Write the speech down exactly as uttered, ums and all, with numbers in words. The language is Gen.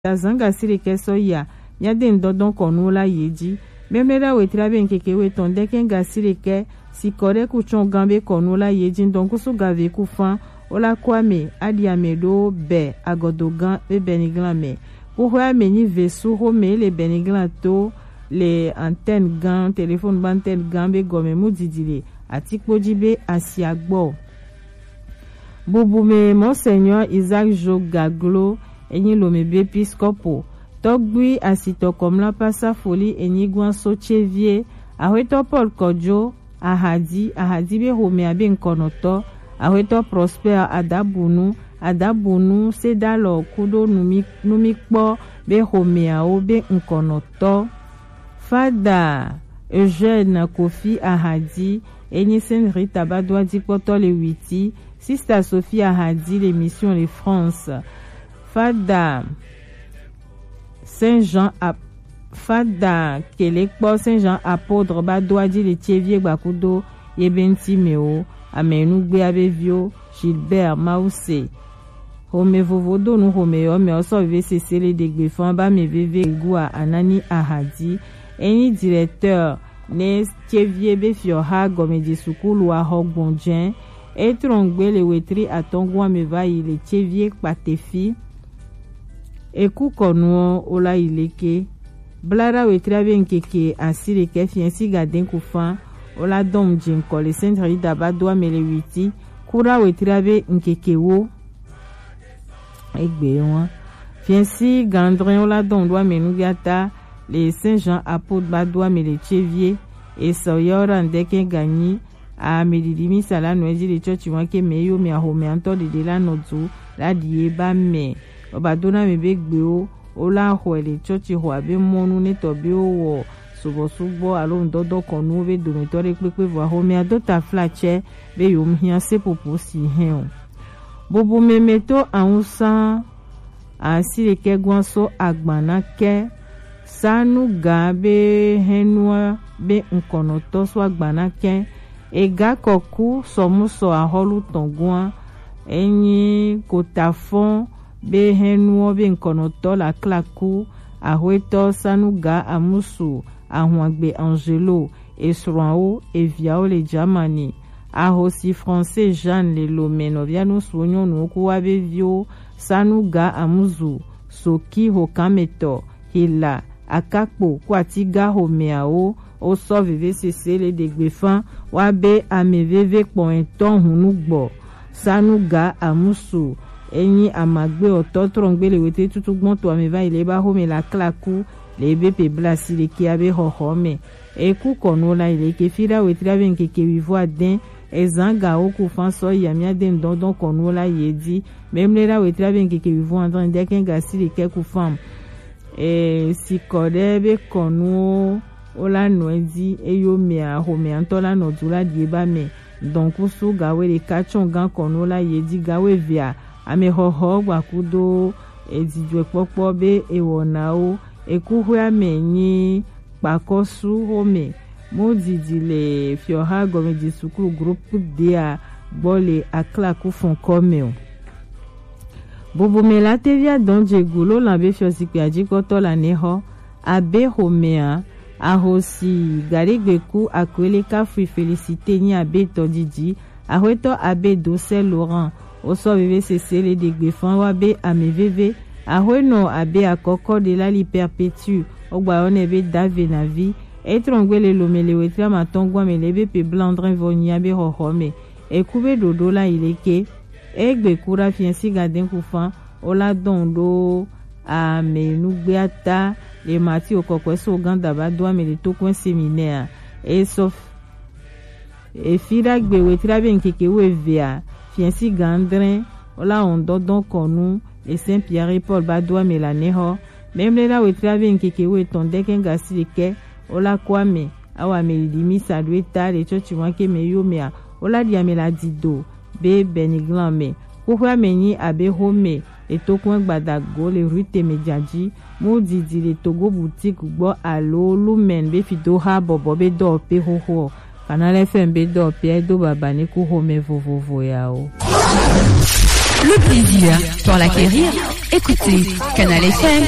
azan gasire kɛ sɔ ya, mia de ndɔdɔn kɔnu la ye ji. Mɛmlɛ da wetra be nkeke we tɔn dɛkɛ gasire kɛ, si kɔ de ku tsɔn gan be kɔnu la ye ji, ndɔn kusu gave ku fan, o la kɔ ame, adi ame do bɛ, agɔdo gan be bɛniglan mɛ. Kuxɔ ame nyi ve su xo mɛ le bɛniglan to, le antenne gan, téléphone ba antenne gan be gɔmɛ mu didi le, atikpo ji be asia gbɔ. Bubu mɛ Monseigneur Isaac Jo Gaglo, enyi Lomé be épiscopo, tɔgbui asitɔ kɔmla pasa foli enyi guan so tsevie, axwetɔ Paul Kɔjo, Ahadi, Ahadi be xomɛ abe nkɔnɔtɔ, axwetɔ Prosper Adabunu, Adabunu Sedalɔ kudo numi, numi kpɔ be xomɛawo be nkɔnɔtɔ. Fada Eugène Kofi Ahadi, enyi Sainte Rita ba do adikpɔtɔ le Witi, Sister Sophie Ahadi le Mission le France. Fada Saint Jean Ap-, Fada Kelekpɔ Saint Jean Apôtre ba do adi le tsevie gbakudo ye be ŋti mɛ o, ame nugbe abe vio Gilbert Mause. Xomɛ vovo do nu xomɛ yɔ mɛ ɔ sɔ veve sese le ɖegbe fan ba mɛ veve gua anani ahadi. Enyi directeur ne tsevie be fiɔ ha gɔmɛdze sukulu axɔ gbɔnjɛ. E trɔn gbe le wetri atɔngua mɛ va yi le tsevie kpatefi. Eku kɔnuɔ o la yi leke. Bla da wetri abe nkeke asi ɖekɛ fiɛ si ga den ku fan. O la dɔn mu dze nkɔ le Sainte Rita ba do ame le witi. Ku da wetri abe nkeke wo. Egbe wan. Fiɛsi gandrɛn wo la dɔn do ame nugiata le Saint Jean Apôtre ba do ame le tsevie. Esɔ yɔ ra ndɛkɛ ganyi. Ame didi mi sa la nɔ edzi le tsɔtsi wan ke me yo me ahome antɔ dede la nɔ du la die ba me. Oba do na me be gbewo o la xɔe le tsɔtsi xɔ abe mɔnu ne tɔ be wo wɔ subɔsubɔ alo ŋdɔdɔ kɔnuwo be dometɔ ɖe kpekpe vɔ ahomea do taflatsɛ be yewo hiã seƒoƒo si hɛn o. Bubu mɛmɛ to awusa asi ɖekɛ gɔn so agban na kɛ sanu ga be hɛnua be ŋkɔnɔtɔ so agban na kɛ ega kɔku sɔmusɔ ahɔlu tɔn gɔn enyi kotafɔn be hɛnua be ŋkɔnɔtɔ la klaku ahwetɔ sanu ga amusu Ahwangbe Angelo, esrɔ̃awo, eviawo le Germany. Ahosi Français Jeanne le Lomé nɔvia nusuwo nyɔnuwo ku wa be viwo Sanuga Amuzu, Soki Hokanmetɔ, Hila, Akakpo ku Atiga homeawo wo sɔ veve sese le ɖegbe fan wa be ame veve kpɔn etɔn hunu gbɔ. Sanuga Amusu enyi amagbe ɔtɔ trɔngbe le wete tutu gbɔn to ame va yi le ba home la klaku le ebe pe blasi le kia be xɔxɔ me. Eku kɔnu la yi le ke fi ɖa wetri abe ŋkeke wivo adɛn ezan ga wo ku fan sɔ yi amia de ŋdɔndɔn kɔnu la yi edi. Memle ɖa wetri abe ŋkeke wivo adɛn de kɛn ga si le kɛ ku fan. E si kɔ ɖe be kɔnuwo wo la nɔ edzi eyo mea xomea ŋutɔ la nɔ du la ɖie ba me. Dɔnkusu gawe ɖeka tsɔ gan kɔnu la yi edzi gawe vea ame xɔxɔ gbakudo edzidzɔkpɔkpɔ be ewɔnawo ekuxɔea me nyi kpakɔsu xome. Mo didi le fiɔha gɔmedzi sukulu groupe dea gbɔ le aklaku fɔnkɔ me o. Bubu me la tevia dɔn dzegu lo lan be fiɔ zikpui adzikpɔtɔ la ne xɔ abe xomea ahosi gaɖegbeku akwele kafui Félicité nyi abe tɔdidi axwetɔ abe dosɛ Laurent wosɔ veve sese le ɖegbe fan wa be ame veve axwenɔ abe akɔkɔ de la li Perpétue wogba yɔ nɛ be dave navi etrɔngbe le Lomé le wetri amatɔn gɔn me le be pe blandrin vɔ nyia be xɔxɔ me eku be ɖoɖo la yi leke. Egbe ku ɖa fiɛ si gadɛn ku fan o la dɔn ɖo ame nugbeata le mati okɔkɔe so ganda ba do ame le tokɔe seminɛa. Esɔ efi ɖa gbe wetri abe ŋkeke wo evea fiɛ si gandrɛn o la wɔn dɔdɔn kɔnu le Saint Pierre Paul ba do ame la nɛ xɔ. Memle la wetri abe ŋkeke wo etɔn dɛkɛn gasi ɖekɛ o la kɔ ame awa me ɖiɖi mi sa ɖo eta le tsɔtsi wan ke me yo mea o la ɖi ame la dido be bɛniglan me. Xoxoa me nyi abe xome le tokun gbadago le rue Temejaji. Mo didi le Togo boutique gbɔ alo Lumen be fidoha bɔbɔ be dɔwɔƒe xoxo. Canal F M be dɔwɔƒea do baba ne ku xome vovovo ya o. Le plaisir dans la carrière. Écoutez Canal F M.